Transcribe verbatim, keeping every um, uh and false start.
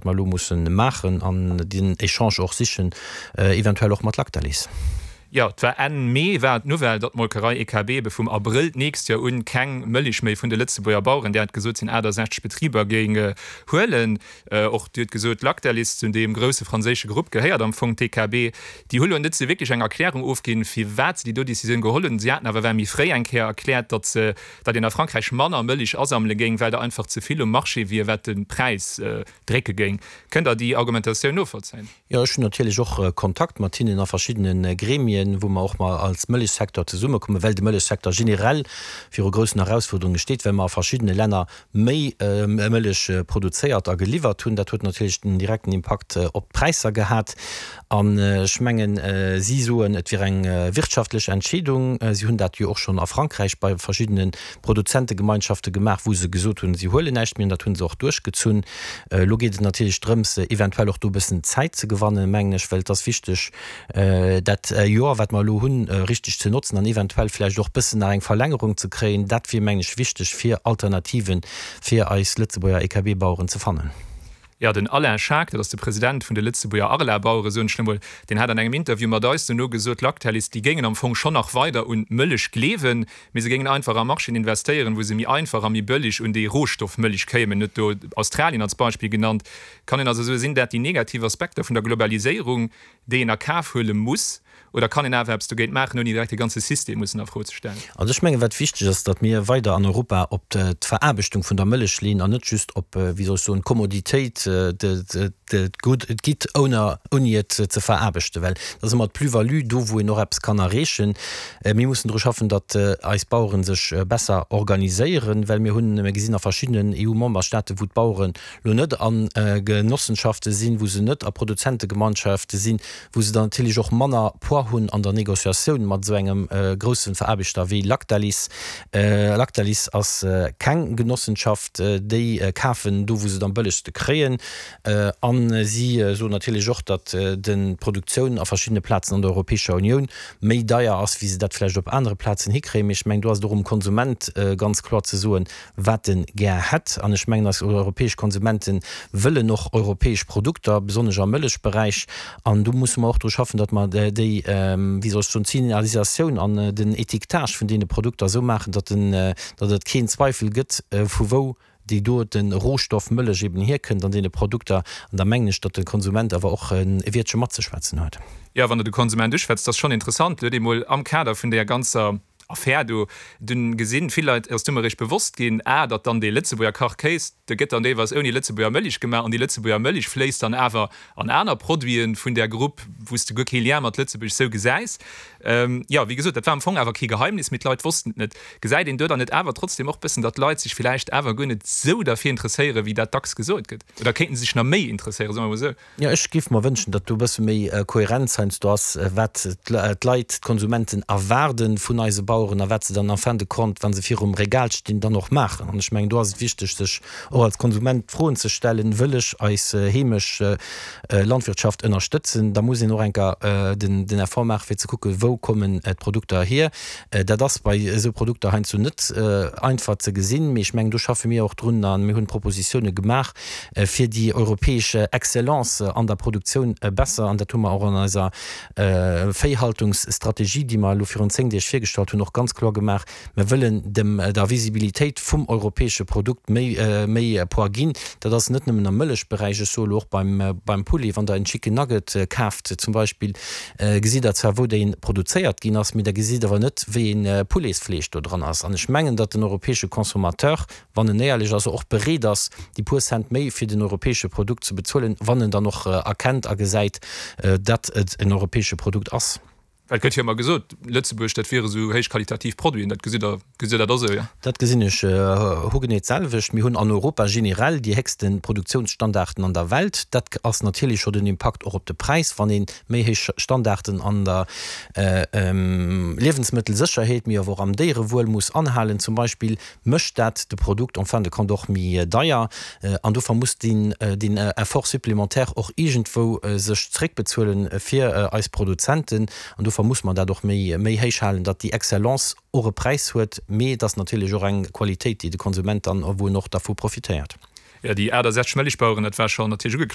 mer elo mussen maachen an den Echange och sichen, eventuell och mat Lactalis. Jo, et war Enn Mee war d'Nouvelle, datt d'Molkerei E K B ebe vum Abrëll d'nächst Joer un keng Mëlich méi vun de Lëtzebuerger Baueren, Dir hat gesot, et sinn aachtasechzeg Betriber, géing huelen. Och Dir hutt gesot, Lactalis, zu deem grousse franséische Grupp gehéiert am Fong d'E K B. Déi hu lo net sou wierklech eng Erklärung ofginn, firwat se déi do Decisioun geholl hunn. Si haten awer well méi fréi eng Kéier erkläert, datt se, datt een a Frankräich manner Mëlich asammele géing, well der einfach ze vill um Marché wier, wat de Präis drécke géing. Kënnt Der déi Argumentatioun novollzéien? Jo, ech hunn natierlech och Kontakt mat hinnen a verschiddene Gremien, wou mer och mol als Mëllechsecteur zesummekommen, well de Mëllechsecteur generell viru groussen Erausfuerderunge steet, well mer a verschiddene Länner méi Mëllech produzéiert a geliwwert hunn. Dat huet natierlech den direkten Impakt op d'Präisser gehat. An ech mengen, si soen, et wier eng wirtschaftlech Entscheedung. Si hunn dat jo och schonn a Frankräich bei verschiddene Produzentegemeinschafte gemaach, wou se gesot hunn, si huelen näischt méi, an dat hu se och duerchgezunn. Elo geet et natierlech drëms, eventuell och do e bëssen Zäit ze gewannen, mengen ech, well et ass wichteg, dat Joer, wat mer elo hunn, richteg ze notzen an eventuell vläicht och e bëssen nach eng Verlängerung ze kréien. Dat wier, mengen ech, wichteg, fir Alternativen fir eis Lëtzebuerger E K B-Baueren ze fannen. Jo, den Alain Schaack, dat ass de President vun de Lëtzebuerger Arla-Bauere, soen ech elo mol, deen hat an engem Interview mat eis dono gesot, Lactalis, déi géingen am Fong schonn nach weider un d'Mëllech gleewen, mee se géingen einfach a Marchéen investéieren, wou se méi einfach a méi bëlleg un déi Rohstoffmëllech kéimen. En huet do Australien als Beispill genannt. Kann een also soen, sinn dat déi negativ Aspekter vun der Globaliséierung, déi een a Kaf huele muss, oder kann een awer eppes dogéint maachen, ouni direkt de ganze System mussen a Fro ze stellen? Also ech mengen, wat wichteg ass, datt mir weider an Europa op d'Veraarbechtung vun der Mëllech leeën an net just op, wéi soll ech soen, d'Kommoditéit, d'Good, d'Gitt ouni et ze veraarbechten, well dat ass ëmmer d'Plus-value do, wou een och eppes kann erreechen. Mir mussen dru schaffen, datt eis Bauere sech besser organiséieren, well mir hunn, mir gesinn a verschiddenen E U-Memberstaaten, wou d'Baueren elo net a Genossenschafte sinn, wou se net a Produzentegemeinschafte sinn, wou se dann natierlech och manner Poids hunn an der Négociatioun mat esou engem grousse Veraarbechter wéi Lactalis. Lactalis ass keng Genossenschaft, déi kafen do, wou se et am bëllegste kréien. A si soen natierlech och, datt d'Produktioun a verschiddene Plazen an der Europäescher Unioun méi deier ass, wéi se dat vläicht op anere Plazen hikréien. Mee ech mengen, do ass et och um Konsument ganz kloer ze soen, wat e gär hätt. An ech mengen, eis europäesch Konsumente wëllen och europäesch Produkter, besonnesch am Mëllechberäich. An do musse mer och dru schaffen, datt mer déi, wéi soll ech soen, d'Signalisatioun an den Étiquetage vun deene Produkter esou maachen, datt den, datt et keen Zweifel gëtt, vu wou déi dote Rohstoff Mëllech eben hierkënnt an deene Produkter. An da mengen ech, datt de Konsument awer och e Wiertche matzeschwätzen huet. Jo, wann Der de Konsument uschwätzt, dat ass schonn interessant. Lo huet ee mol am Kader vun där ganzer Affär do dunn gesinn, vill Leit ass du mer eréischt bewosst ginn, ah, datt dann dee Lëtzebuerger Kachkéis, dee gëtt dann deelweis ouni Lëtzebuerger Mëlich gemaach an déi Lëtzebuerger Mëlich fléisst dann awer an aner Produiten vun där Grupp, wou s de guer kee Lien mat Lëtzebuerg sou gesäis. Jo, wéi gesot, dat war am Fong awer kee Geheimnis, mee d'Leit wossten et net. Gesäit een do dann net awer trotzdem och bëssen, datt d'Leit sech villäicht awer guer net sou derfir interesséieren, wéi dat dacks gesot gëtt? Oder kéinten se sech nach méi interesséieren, soe mer emol sou? Jo, ech géif mer wënschen, datt do e bësse méi Kohärenz heiansdo ass, wat d'Leit, d'Konsumenten erwaarde vun eise Baueren a wat se dann en fin de compte, wa se virum Regal stinn, dann och maachen. An ech mengen, do ass et wichteg, sech och als Konsument d'Froen ze stellen, Wëll ech eis heemesch Landwirtschaft ënnerstëtzen? Da muss een och eng Kéier den Effort maachen, fir ze kucken, wou kommen d'Produkter hier. Dat ass bei esou Produkter heiansdo net einfach ze gesinn, mee ech mengen, do schaffe mir och drun a mir hunn Propositioune gemaach, fir déi europäesch Excellence an der Produktioun besser, an dat hu mer och an eiser Véihaltungsstrategie, déi mer elo virun zéng Deeg virgestallt hunn, och ganz kloer gemaach, Mer wëllen dem der Visibilitéit vum europäesche Produkt méi méi Poids ginn. Dat ass net nëmmen am Mëllechberäich, ech soe elo och beim beim Poulet, wann Der en Chicken Nugget kaaft zum Beispill, gesitt Der zwar wou dee produzéiert ginn ass, mee Der gesitt awer net wéi ee Pouletsfleesch do dran ass. An ech mengen, datt den europäesche Consommateur, wann en éierlech ass, och bereet ass, déi puer Cent méi fir den europäesche Produkt ze bezuelen, wann en dann och erkennt a gesäit, datt et en europäesche Produkt ass. Well et gëtt jo ëmmer gesot, Lëtzebuerg, dat wiere sou héichqualitativ Produiten. Dat gesitt Der, gesitt Der dat och esou, jo? Dat gesinn ech hogenee d'selwecht. Mir hunn an Europa generell déi héchste Produktionsstandarden an der Welt. Dat ass natierlech scho den Impakt och op de Präis, wann ee méi héich Standarden an der Liewensmëttelsécherheet, mee awer och am Déierewuel muss anhalen zum Beispill, mécht dat de Produkt en fin de compte och méi deier. An dofir muss deen Effort supplémentaire och iergendwou sech zréckbezuelen fir eis Produzenten. An dofir muss mer dat och méi méi héich halen, datt déi Excellence och e Präis huet, mee et ass natierlech och eng Qualitéit, déi de Konsument dann, wou en och dervu profitéiert. Ja, déi aachtesechzeg Mëllechbaueren, dat war schonn natierlech ugekloen.